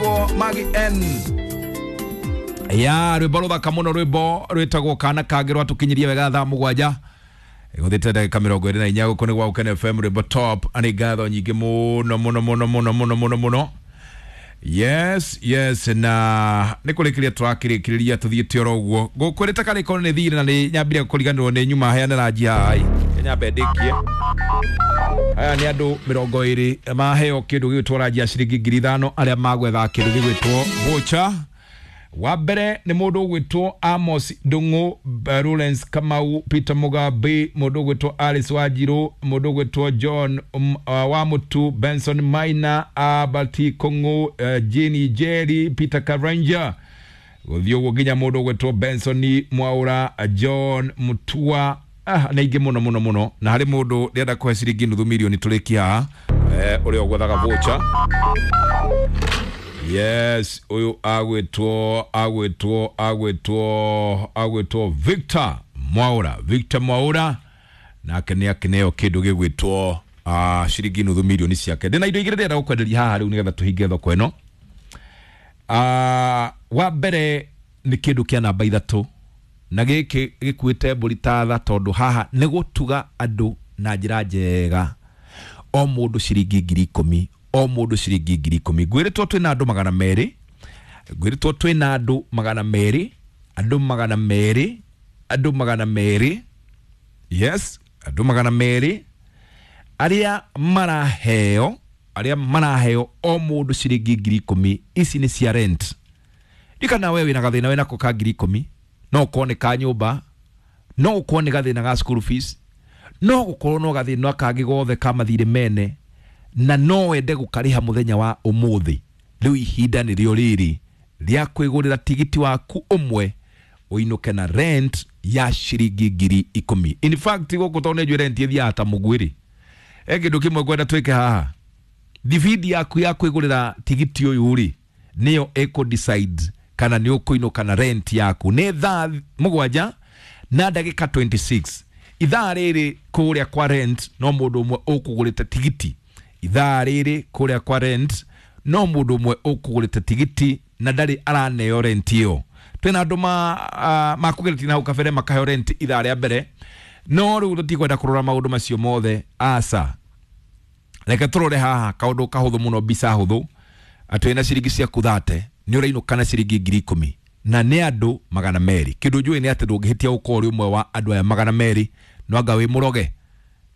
Ũgwĩtwo Magi N ya rwĩmbo rũthaka mũno, rwĩmbo rwĩtagwo Kana Kangĩ, rwatũkinyirie wega thaa 7 gũthiĩte ndagĩka 24. Gũkũ nĩ gwa Gũkena FM, rwĩmbo top. Nĩ ngatho nyingĩ mũno mũno mũno mũno mũno mũno mũno. Yes, na nĩ kũrĩkĩria tũrakĩrĩkĩrĩria, tũthiĩte oro ũguo ngũkwĩrĩte karĩko nĩ thirĩ na nĩ nyambire kũriganĩrwo nĩ nyuma heane ranji haha. Nyambe ndĩkie. Aya nĩ andũ 20 maheo kĩndũ gĩgwĩtwo ranji ya ciringi 5,000, arĩa magwetha kĩndũ gĩgwĩtwo voucher. Wa mbere nĩ mũndũ ũgwĩtwo Amos Ndung'u, Lawrence Kamau, Peter Mugambi, mũndũ ũgwĩtwo Alice Wanjiru, mũndũ ũgwĩtwo John Wamutu, Benson Maina, Albert Kung'u, Jane Jerry, Peter Karanja, gũthiĩ ũguo nginya mũndũ ũgwĩtwo Benson Mwaura, John Mutua, na ingĩ mũno mũno mũno. Na harĩ mũndũ ndĩrenda kũhe ciringi nuthu mirioni tũrĩkie haha, ũrĩa ũgwethaga voucher. Yes, ũyũ agwĩtwo Victor Mwaura. Victor Mwaura nake nĩ akĩneo kĩndũ gĩgwĩtwo ciringi nuthu mirioni ciake. Ndĩna indo igĩrĩ ndĩrenda gũkwenderia haha rĩu nĩgetha tũhinge thoko ĩno. Wa mbere nĩ kĩndũ kĩa namba 3, na gĩkĩ gĩkuĩte mbũri ta tha, tondũ haha nĩ gũtuga andũ na njĩra njega. O mũndũ ciringi 10,000, o mũndũ ciringi 10,000. Ngwĩrĩtwo twĩna andũ 200, ngwĩrĩtwo twĩna andũ 200, andũ 200, andũ 200. Yes, andũ 200 arĩa maraheo, arĩa maraheo o mũndũ ciringi 10,000. Ici nĩ cia rent. Ndikana we wĩna gathĩna wĩnako ka 10,000, no ũkorwo nĩ ka nyũmba, no ũkorwo nĩ gathĩna ga school fees, no gũkorwo no gathĩna kangĩ gothe ka mathirĩ mene, na no wende gũkarĩha mũthenya wa ũmũthĩ. Rĩu ihinda nĩrĩo rĩrĩ rĩa kwĩgũrĩra tigiti waku ũmwe ũinũke na rent ya ciringi 10,000. In fact, gũkũ tondũ nĩ njũĩ rent ĩthiaga ta mũguĩ-rĩ, he kĩndũ kĩmwe ngwenda twĩke haha. Thibindi yaku ya kwĩgũrĩra tigiti ũyũ rĩ, nĩyo ĩkũ decide kana nĩ ũkũinũka na rent yaku. Nĩ thaa 7 na ndagĩka 26. Ithaa rĩrĩ kũrĩa kwa rent no mũndũ ũmwe ũkũgũrĩte tigiti. Ithaa rĩrĩ kũrĩa kwa rent no mũndũ ũmwe ũkũgũrĩte tigiti na ndarĩ araneo rent ĩyo. Twĩna andũ makũgeretie na hau kabere makaheo rent ithaa rĩa mbere, no rĩu tũtikwenda kũrora maũndũ macio mothe, aca. Reke tũrore haha kaũndũ kahũthũ mũno, mbica hũthũ, atĩ wĩna ciringi ciaku 30 nĩ ũrainũka na ciringi 10,000, na nĩ andũ 200. Kĩndũ njũĩ nĩ atĩ ndũngĩhĩtia gũkorwo ũrĩ ũmwe wa andũ aya 200, no anga wĩ mũroge,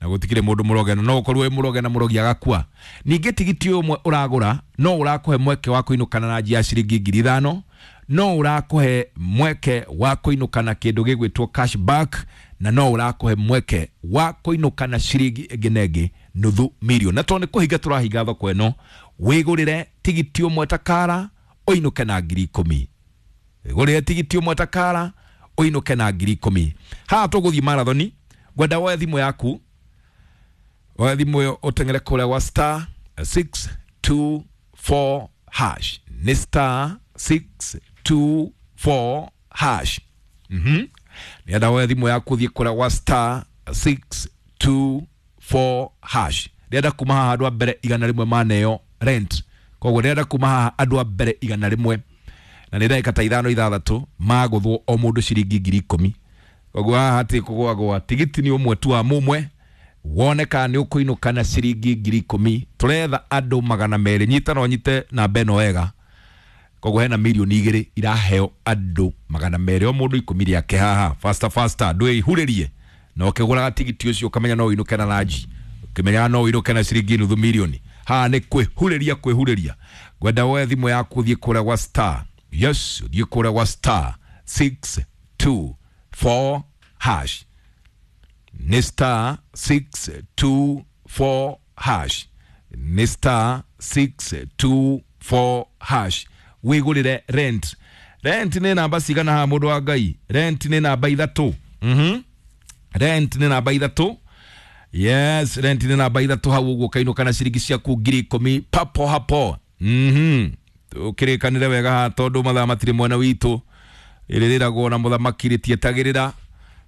na gũtikĩrĩ mũndũ mũroge, no ũkorwo wĩ mũroge na mũrogi agakua. Ningĩ tigiti ũyũ ũmwe ũragũra no ũrakũhe mweke wa kũinũka na ranji ya ciringi 5,000, no ũrakũhe mweke wa kũinũka na kĩndũ gĩgwĩtwo cashback, na no ũrakũhe mweke wa kũinũka na ciringi ĩngĩ na ĩngĩ nuthu mirioni. Na tondũ nĩ kũhinga tũrahinga thoko ĩno, wĩgũrĩre tigiti ũmwe ta kara ũinũke na 10,000. Wĩgũrĩre tigiti ũmwe ta kara ũinũke na 10,000. Haha tũgũthiĩ marathoni, ngwenda woe thimũ yaku, woe thimũ ĩyo ũteng'ere kũrĩa gwa star 624 hash. Nĩ star 624 hash. Nĩenda woe thimũ yaku ũthiĩ kũrĩa gwa star 624 hash. Ndĩrenda kuma haha andũ a mbere 100 maneo rent. Koguo ndĩrenda kuma haha andũ a mbere 100, na nĩ ndagĩka ta 5 6 magũthwo o mũndũ ciringi 10,000. Koguo haha hatirĩ kũgwagwa, tigiti nĩ ũmwe tu wa mũmwe, wone kana nĩ ũkũinũka na ciringi 10,000. Tũretha andũ 200. Nyita no nyite namba ĩno wega. Koguo hena mirioni 2 iraheo andũ 200, o mũndũ 10 rĩake haha. Faster faster, ndwĩihurĩrie na ũkĩgũraga tigiti ũcio ũkamenya no ũinũke na ranji, ũkĩmenyaga no ũinũke na ciringi nuthu mirioni. Haha nĩ kwĩhurĩria, kwĩhurĩria. Ngwenda woe thimũ yaku ũthiĩ kũrĩa gwa star, yes, ũthiĩ kũrĩa gwa star 624 hash. Nĩ star 624 hash. Nĩ star 624 hash. Wĩgũrĩre rent. Rent nĩ namba cigana haha, mũndũ wa Ngai? Rent nĩ namba 3. Rent nĩ namba 3. Yes, rent nĩ namba 3 hau ũguo, ũkainũka na ciringi ciaku 10,000 papo hapo. Tũkĩrĩkanĩre wega haha tondũ mathaa matirĩ mwena witũ. Rĩrĩragwo na mũthamaki rĩtietagĩrĩra,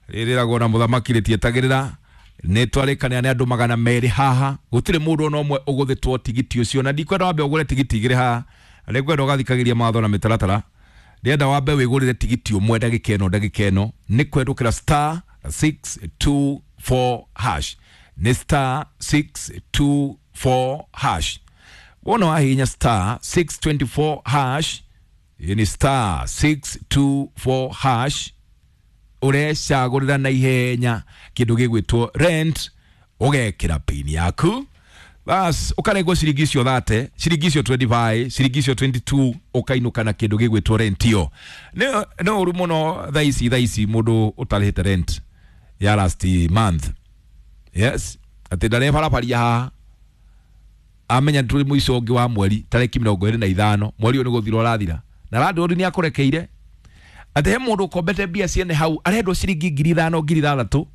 rĩrĩragwo na mũthamaki rĩtietagĩrĩra. Nĩ twarĩkanĩra nĩ andũ 200 haha, gũtirĩ mũndũ ona ũmwe ũgũthĩtwo tigiti ũcio, na ndikwenda wambe ũgũre tigiti 2 haha. Na nĩngwenda ũgathikagĩria mawatho na mĩtaratara. Ndĩrenda wambe wĩgũrĩre tigiti ũmwe ndagĩka ĩno, ndagĩka ĩno nĩ kũhetũkĩra star 624 hash, nĩ star 624 hash. Wona wahihinya star 624 hash, ĩ nĩ star 624 hash, ũrecagũrĩra na ihenya kĩndũ gĩgwĩtwo rent, ũgekĩra pin yaku, bas ũkarengwo ciringi icio 30, ciringi icio 25, ciringi icio 22, ũkainũka na kĩndũ gĩgwĩtwo rent. Ĩyo nĩ ũru mũno thaa ici, thaa ici mũndũ ũtarĩhĩte rent ya last month, yes, atĩ ndarebarabaria haha amenya tũrĩ mũico ũngĩ wa mweri tarĩki 25 mweri ũyũ nĩ gũthira ũrathira, na landlord nĩ akũrekeire atĩ he mũndũ ũkombete mbia ciene hau arendwo ciringi 5,000, 6,000,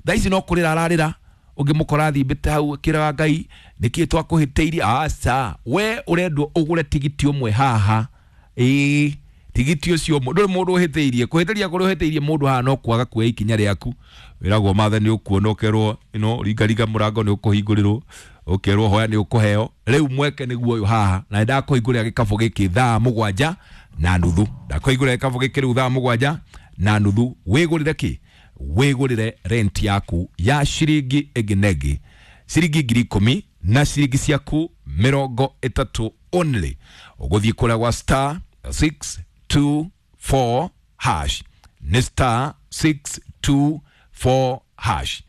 thaa ici no kũrĩra ararĩra, ũngĩmũkora thimbĩte hau akĩraga Ngai nĩkĩĩ twakũhĩtĩirie. Aca, we ũrendwo ũgũre tigiti ũmwe haha, ĩĩ, tigiti ũcio ũmwe, ndũrĩ mũndũ ũhĩtĩirie. Kũhĩtĩria kũrĩa ũhĩtĩirie mũndũ haha no kwaga kuoya ikinya rĩaku. Wĩragwo mathe nĩ ũkuona, ũkerwo ĩno ringaringa mũrango nĩ ũkũhingũrĩrwo, ũkerwo hoya nĩ ũkũheo. Rĩu mweke nĩguo ũyũ haha, na nĩndakũhingũrĩra gĩkabũ gĩkĩ thaa 7:30, ndakũhingũrĩra gĩkabũ gĩkĩ rĩu thaa 7:30, wĩgũrĩre kĩ? Wĩgũrĩre rent yaku ya ciringi ĩngĩ na ĩngĩ, ciringi 10,000 na ciringi ciaku 30 only. Ũgũthiĩ kũrĩa gwa star 624 hash, nĩ star 624 hash,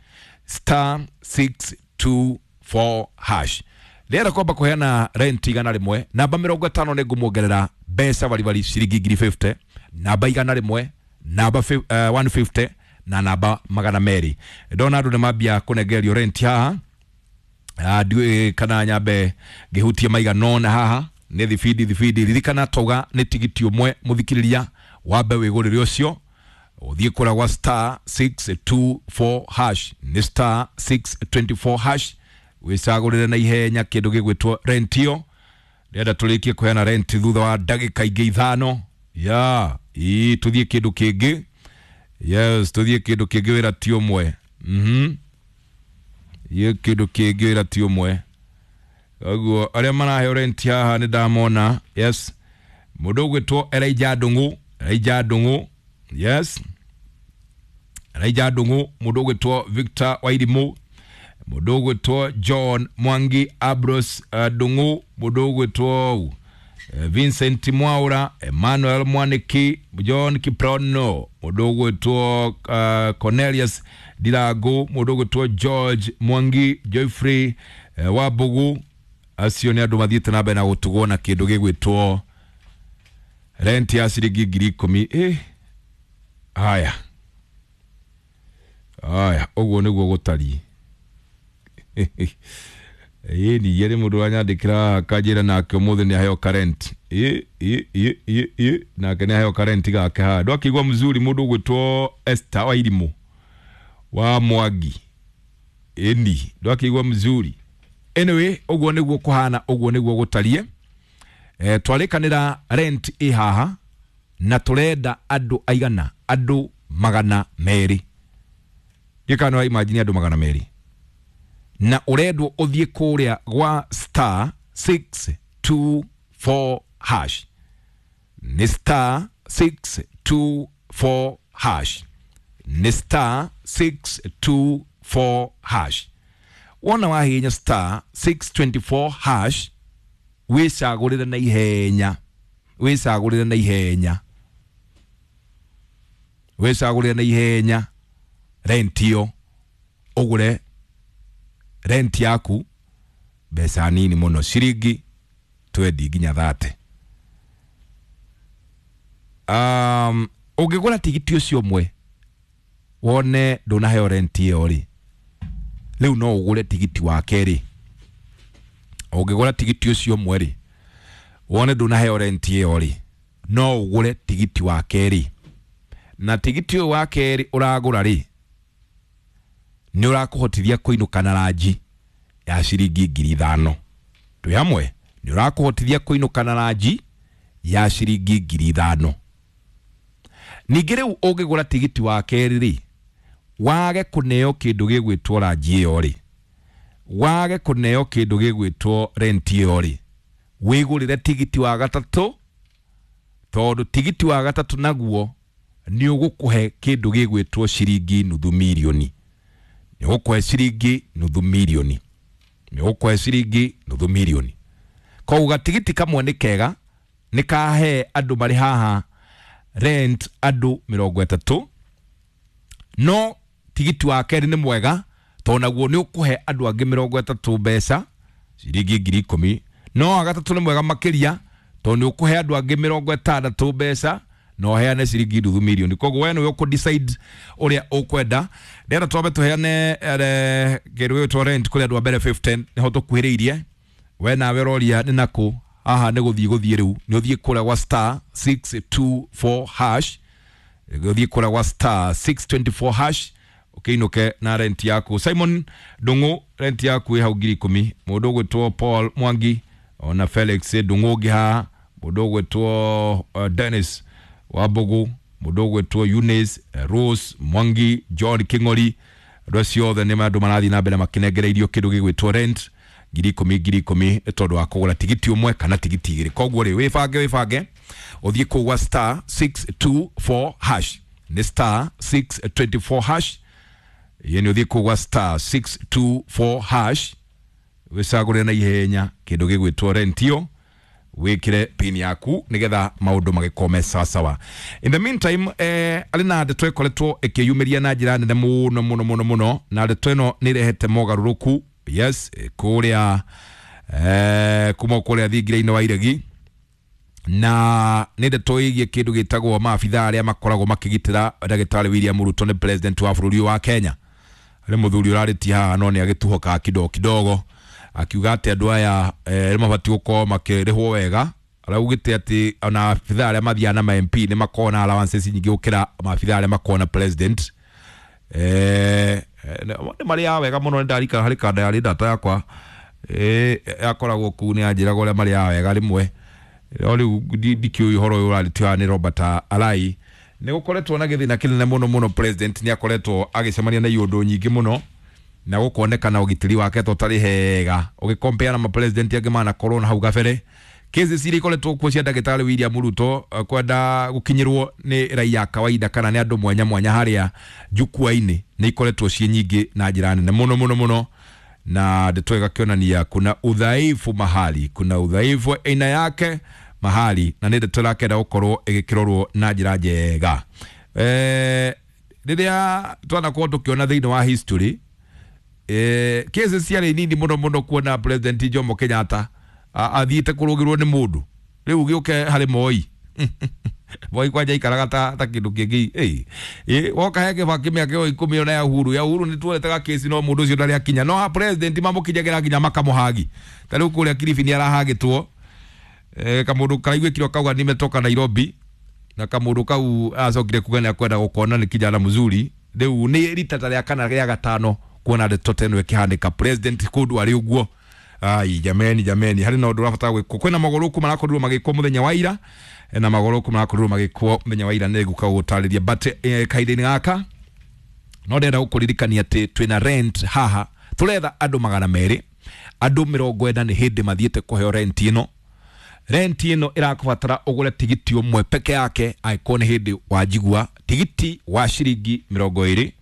star 624 hash. Rĩera kwamba kũheana rent 100, namba 50 nĩ ngũmuongerera mbeca baribari ciringi 50,000, namba 100, namba 150 na namba 200. Ndona andũ nĩ mambia kũnengererio rent haha. Ndiũĩ kana nyambe ngĩhutie maigana ũna haha nĩ thibindi thibindi. Ririkana twauga nĩ tigiti ũmwe mũthikĩrĩria, wambe wĩgũrĩre ũcio, ũthiĩ kũrĩa gwa star 624 hash, nĩ star 624 hash, wĩcagũrĩre na ihenya kĩndũ gĩgwĩtwo rent ĩyo. Ndĩrenda tũrĩkie kũheana rent thutha wa ndagĩka ingĩ 5 ya ii, tũthiĩ kĩndũ kĩngĩ. Yes, tũthiĩ kĩndũ kĩngĩ, wĩra ti ũmwe. Yĩ kĩndũ kĩngĩ, wĩra ti ũmwe. Koguo arĩa maraheo rent haha nĩ ndamona. Yes, mũndũ ũgwĩtwo Elijah Ndung'u, Elijah Ndung'u, yes, Elijah Ndung'u, mũndũ ũgwĩtwo Victor Wairimũ, mũndũ ũgwĩtwo John Mwangi, Abros Ndung'u, mũndũ ũgwĩtwo Vincent Mwaura, Emmanuel Mwaniki, John Kiprono, mũndũ ũgwĩtwo Cornelius Ndirangu, mũndũ ũgwĩtwo George Mwangi, Geoffrey Wambugu. Acio nĩ andũ mathiĩte na mbere na gũtugwo na kĩndũ gĩgwĩtwo rent ya ciringi 10,000. Haya haya, ũguo nĩguo gũtariĩ. Ĩ ningĩ nĩ mũndũ ũranyandĩkĩra akanjĩra nake ũmũthĩ nĩ aheo karent. Ĩ ĩ ĩ ĩ ĩ, nake nĩ aheo karent gake haha. Ndwakĩigua mzuri mũndũ ũgwĩtwo Esther Wairimũ wa Mwangi, ĩni ndwakĩigua mzuri. Anyway, ũguo nĩguo kũhana, ũguo nĩguo gũtariĩ. Twarĩkanĩra rent ĩ haha na tũrenda andũ aigana? Andũ 200. Ndikana wa imagine andũ 200, na ũrendwo ũthiĩ kũrĩa gwa star 624 hash, nĩ star 624 hash, nĩ star 624 hash. Wona wahihinya star 624 hash, wĩcagũrĩre na ihenya, wĩcagũrĩre na ihenya, wĩcagũrĩre na ihenya rent ĩyo, ũgũre rent yaku mbeca nini mũno, ciringi 20 nginya 30. Ũngĩgũra tigiti ũcio ũmwe wone ndũnaheo rent ĩyo rĩ, rĩu no ũgũre tigiti wa kerĩ. Ũngĩgũra tigiti ũcio ũmwe rĩ, wone ndũnaheo rent ĩyo rĩ, no ũgũre tigiti wa kerĩ, na tigiti ũyũ wa kerĩ ũragũra rĩ, nĩ ũrakũhotithia kũinũka na ranji ya ciringi 5,000. Twĩ hamwe? Nĩ ũrakũhotithia kũinũka na ranji ya ciringi 5,000. Ningĩ rĩu ũngĩgũra tigiti wa kerĩ rĩ, wage kũneo kĩndũ gĩgwĩtwo ranji ĩyo rĩ, wage kũneo kĩndũ gĩgwĩtwo rent ĩyo rĩ, Wĩgũrĩre tigiti wa gatatũ, tondũ tigiti wa gatatũ naguo nĩ ũgũkũhe kĩndũ gĩgwĩtwo ciringi nuthu mirioni. Nĩ ũgũkũhe ciringi nuthu mirioni. Nĩ ũgũkũhe ciringi nuthu mirioni. Koguo gatigiti kamwe nĩ kega, nĩ kahe andũ marĩ haha rent andũ 30, no tigiti wa kerĩ nĩ mwega tondũ naguo nĩ ũkũhe andũ angĩ 30 mbeca ciringi 10,000. No wa gatatũ nĩ mwega makĩria tondũ nĩ ũkũhe andũ angĩ 60 mbeca na ũheane ciringi nuthu mirioni. Koguo we nĩwe ũkũ decide ũrĩa ũkwenda. Ndĩrenda twambe tũheane kĩndũ gĩgwĩtwo rent kũrĩ andũ a mbere 15, nĩho tũkuhĩrĩirie. We nawe ũroria nĩ nakũ? Haha nĩ gũthiĩ gũthiĩ rĩu, nĩ ũthiĩ kũrĩa gwa star 624 hash, ũthiĩ kũrĩa gwa star 624 hash ũkĩinũke na rent yaku. Simon Ndung'u, rent yaku ĩ hau 10,000. Mũndũ ũgwĩtwo Paul Mwangi ona Felix Ndung'u ũngĩ haha, mũndũ ũgwĩtwo Dennis Wambugu, mũndũ ũgwĩtwo Eunice, Rose Mwangi, John King'ori, andũ acio othe nĩ andũ marathiĩ na mbere makĩnengereirio kĩndũ gĩgwĩtwo rent 10,000 10,000 nĩ tondũ wa kũgũra tigiti ũmwe kana tigiti igĩrĩ. Koguo rĩ, wĩbange wĩbange ũthiĩ kũu gwa star 624 hash, nĩ star 624 hash, yeni ũthiĩ kũu gwa star 624 hash wĩcagũre na ihenya kĩndũ gĩgwĩtwo rent ĩyo, wĩkĩre pin yaku nĩgetha maũndũ magĩkorwo me sawasawa. In the meantime, arĩ na ndeto ĩkoretwo ĩkĩyumĩria na njĩra nene mũno mũno mũno mũno, na ndeto ĩno nĩ ĩrehete mogarũrũku, yes, kũrĩa kuma kũrĩa thingira-inĩ wa Iregi, na nĩ ndeto ĩgiĩ kĩndũ gĩtagwo maabithaa arĩa makoragwo makĩgitĩra ndagĩtarĩ William Ruto nĩ president wa bũrũri wa Kenya. Harĩ mũthuri ũrarĩtie haha no nĩ agĩtuhokaga kidogo kidogo akiuga atĩ andũ aya nĩ mabatiĩ gũkorwo makĩrĩhwo wega. Araugĩte atĩ ona abithaa arĩa mathiaga na ma MP nĩ makoragwo na allowances nyingĩ gũkĩra maabithaa arĩa makoragwo na president. Nĩ marĩaga wega mũno, nĩ ndarikana harĩ kanda yarĩ ndata yakwa yakoragwo kũu, nĩ yanjĩraga ũrĩa marĩaga wega rĩmwe, no rĩu ndikĩũĩ ũhoro ũyũ ũrarĩtio haha nĩ Robert Alai. Nĩ gũkoretwo na gĩthĩna kĩnene mũno mũno, president nĩ akoretwo agĩcemania na iũndũ nyingĩ mũno na gũkonekana ũgitĩri wake to ũtarĩ hega ũgĩkompea na mapresident angĩ manakorwo na hau gabere. Cases iria ikoretwo kuo cia ndagĩtarĩ William Ruto kwenda gũkinyĩrwo nĩ raia kawaida kana nĩ andũ mwanya mwanya harĩa jukwaa-inĩ nĩ ikoretwo ciĩ nyingĩ na njĩra nene mũno mũno mũno, na ndeto ĩgakĩonania kuna udhaifu mahali, kuna udhaifu wa aina yake mahali, na nĩ ndeto ĩrakenda gũkorwo ĩgĩkĩrorwo na njĩra njega. Rĩrĩa twanakorwo tũkĩona thĩinĩ wa history, cases ciarĩ nini mũno mũno kuona president Jomo Kenyatta athiĩte kũrũgĩrwo nĩ mũndũ, rĩu gĩũke harĩ Moi. Moi kwanja aikaraga ta kĩndũ kĩngĩ. Woka he Kibaki mĩaka ĩyo 10 ona ya Uhuru, ya Uhuru nĩ tuonete kesi no mũndũ ũcio ndarĩ akinya, no ha president mamũkinyagĩra nginya makamũhagi. Ta rĩu kũrĩa Kilifi nĩ arahagĩtwo, kamũndũ karaiguĩkire kauga nimetoka Nairobi, na kamũndũ kau acokire kuga nĩ akwenda gũkona nĩ kijana mzuri. Rĩu nĩ rita ta rĩa kana rĩa gatano kuona ndeto ta ĩno ĩkĩhanĩka president kũndũ arĩ ũguo. Ai jameni jameni, harĩ na ũndũ ũrabatara gwĩkwo. Kwĩna mogarũrũku marakorirwo magĩkwo mũthenya wa ira, na mogarũrũku marakorirwo magĩkwo mũthenya wa ira nĩ ngũka gũtarĩria, but kahinda-inĩ gaka no ndĩrenda gũkũririkania atĩ twĩna rent haha, tũretha andũ 200, andũ 40 nĩ hĩndĩ mathiĩte kũheo rent ĩno. Rent ĩno ĩrakũbatara ũgũre tigiti ũmwe peke yake, angĩkorwo nĩ hĩndĩ wanjigua, tigiti wa ciringi 20,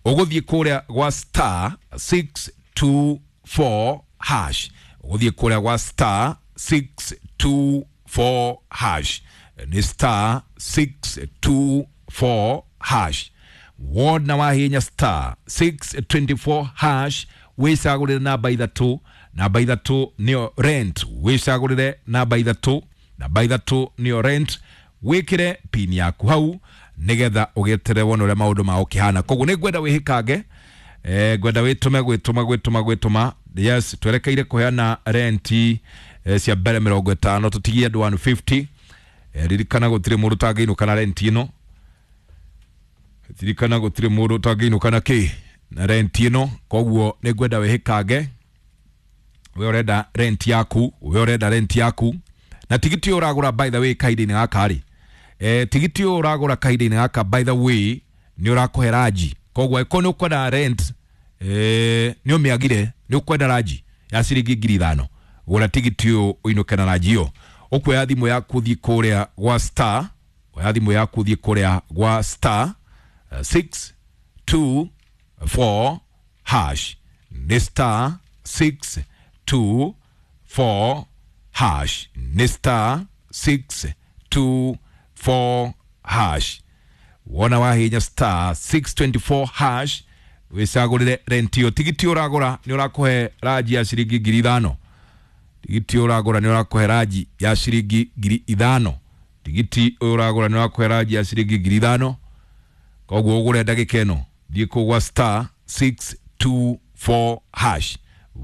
ũgũthiĩ kũrĩa gwa star 624 hash, ũgũthiĩ kũrĩa gwa star 624 hash, nĩ star 624 hash. Wona wahinya star 624 hash, wĩcagũrĩre namba ithatũ, namba ithatũ nĩyo rent, wĩcagũrĩre namba ithatũ, namba ithatũ nĩyo rent, wĩkĩre pin yaku hau nĩgetha ũgĩeterere wone ũrĩa maũndũ mao kĩhana. Koguo nĩ ngwenda wĩhĩkange, ngwenda wĩtũme gwĩtũma gwĩtũma gwĩtũma. Yes, twerekeire kũheana renti cia mbere 50, tũtigie andũ 150. Ririkana gũtirĩ mũndũ ũtangĩinũka na renti ĩno, ririkana gũtirĩ mũndũ ũtangĩinũka na kĩ na renti ĩno. Koguo nĩ ngwenda wĩhĩkange, we ũrenda rent yaku, we ũrenda rent yaku, na tigiti ũyũ ũragũra by the way kahinda-inĩ gaka rĩ, tigiti ũyũ ũragũra kahinda-inĩ gaka by the way nĩ ũrakũhe ranji. Koguo angĩkorwo nĩ ũkwenda rent, nĩ ũmĩagire, nĩ ũkwenda ranji ya ciringi 5,000, Gũra tigiti ũyũ ũinũke na ranji ĩyo. Ũkuoya thimũ yaku ũthiĩ kũrĩa gwa star, oya thimũ yaku ũthiĩ kũrĩa gwa star 6 2 4 hash, nĩ star 6 2 4 hash, nĩ star 6 2 4 hash. Wona wahinya star 624 hash wicagũrĩre rent ĩyo. Tigiti ũragũra nĩ ũrakũhe ranji ya ciringi 5,000. Tigiti ũragũra nĩ ũrakũhe ranji ya ciringi 5,000. Tigiti ũyũ ũragũra nĩ ũrakũhe ranji ya ciringi 5,000. Koguo ũgũre ndagĩka ĩno, thiĩ kũu gwa star 624 hash.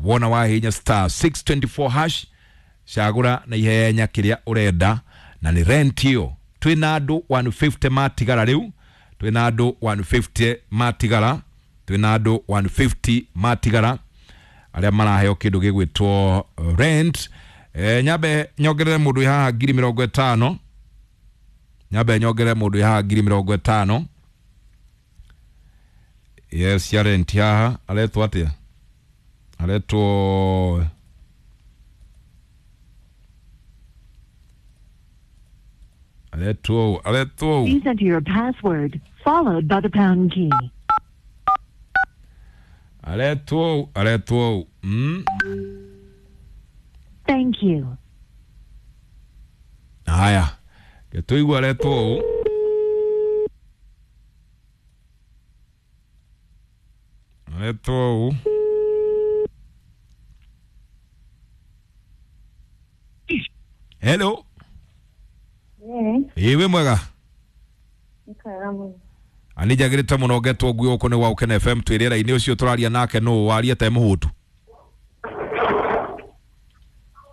Wona wahinya star 624 hash, cagũra na ihenya kĩrĩa ũrenda, na nĩ rent ĩyo. Twĩna andũ 150 matigara rĩu, twĩna andũ 150 matigara, twĩna andũ 150 matigara arĩa maraheo kĩndũ gĩgwĩtwo rent. Nyambe nyongerere mũndũ wĩ haha 50,000. Nyambe nyongerere mũndũ wĩ haha 50,000. Yes, ya rent haha aretwo atĩa? Aretwo aretwo Please enter your password, followed by the pound key. Aretwo. Thank you. Haya, gĩtũigua aretwo ũũ. Aretwo ũũ. Hello. Ĩĩ, wĩ mwega? Ani njagĩrĩte mũno ngetwo ngui gũkũ nĩ gwa Gũkena FM twĩ rĩera-inĩ. Ũcio tũraria nake nũ waria te mũhũtu?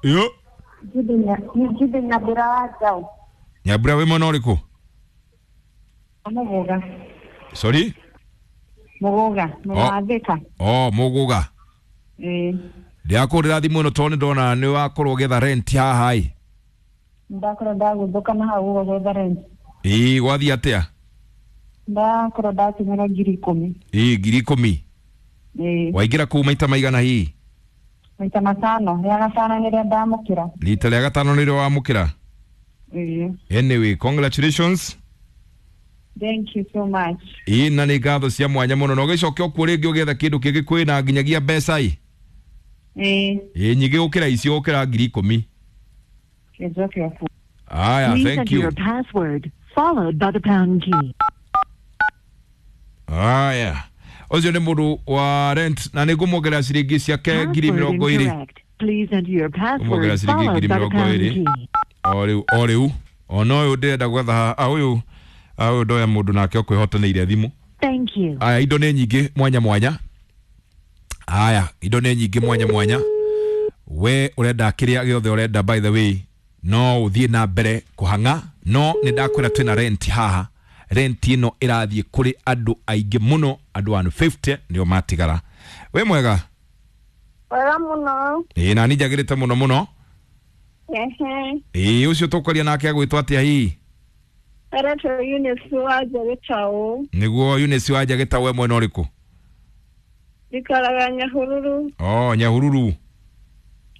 Yo. Jude Nyambura wa Njaũ. Nyambura, wĩ mwena ũrĩkũ? Mũgũga. Sorry? Mũgũga, mwena wa Thika. Oh, Mũgũga. Ĩĩ. Ndĩrakũhũrĩra thimũ ĩno tondũ nĩ ndona nĩ wakorwo ũgĩetha rent haha ĩ. Ndakorwo ndagũthũka na hau ũguo gwetha rent. Ĩĩ, gwathiĩ atĩa? Ndakorwo ndatũmĩra 10,000. Ĩĩ, 10,000. Ĩĩ. Waingĩra kũu maita maigana hihi? Maita matano, rĩa gatano nĩrĩo ndamũkĩra. Rita rĩa gatano nĩrĩo wamũkĩra? Ĩĩ. Anyway, congratulations. Thank you so much. Ĩĩ, na nĩ ngatho cia mwanya mũno, na ũgĩcoke okuo rĩngĩ ũgĩetha kĩndũ kĩngĩ kwĩna nginyagia mbeca ĩ. Ĩĩ. Ĩĩ, nyingĩ gũkĩra icio, gũkĩra 10,000. Njoke okuo. Aya, Please thank enter you. your password, followed by the pound key. Aya, ũcio nĩ mũndũ wa rent na nĩ ngũmuongerera ciringi ciake ngiri Password mĩrongo ĩrĩ. incorrect. Please enter your password, Ngũmuongerera ciringi followed ngiri by the mĩrongo pound ĩrĩ. key. O rĩu, o rĩu ona ũyũ ndĩrenda gwetha haha, ũyũ ũyũ ndoya mũndũ nake ũkwĩhotanĩire thimũ. Thank you. Aya, indo nĩ nyingĩ mwanya mwanya. Aya, indo nĩ nyingĩ mwanya mwanya. We ũrenda kĩrĩa gĩothe ũrenda, by the way, no ũthiĩ na mbere kũhang'a, no nĩ ndakwĩra twĩna rent haha. Rent ĩno ĩrathiĩ kũrĩ andũ aingĩ mũno, andũ 150 nĩo matigara. Wĩ mwega? Wega mũno. Ĩĩ, na niĩ njagĩrĩte mũno mũno. Ehe. Ĩĩ, ũcio tũkwaria nake agwĩtwo atĩa hihi? Aretwo Eunice wa Njagĩtaũ. Nĩguo Eunice wa Njagĩtaũ, we mwena ũrĩkũ? Njikaraga Nyahururu. Oh, Nyahururu.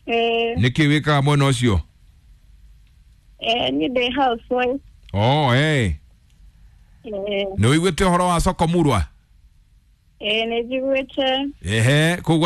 Ĩĩ. Nĩkĩ wĩkaga mwena ũcio? Niĩ ndĩ housewife. Oh, eh. Ĩĩ. Nĩ ũiguĩte ũhoro wa soko murwa? Ĩĩ, nĩ njiguĩte. Ehe, kũu.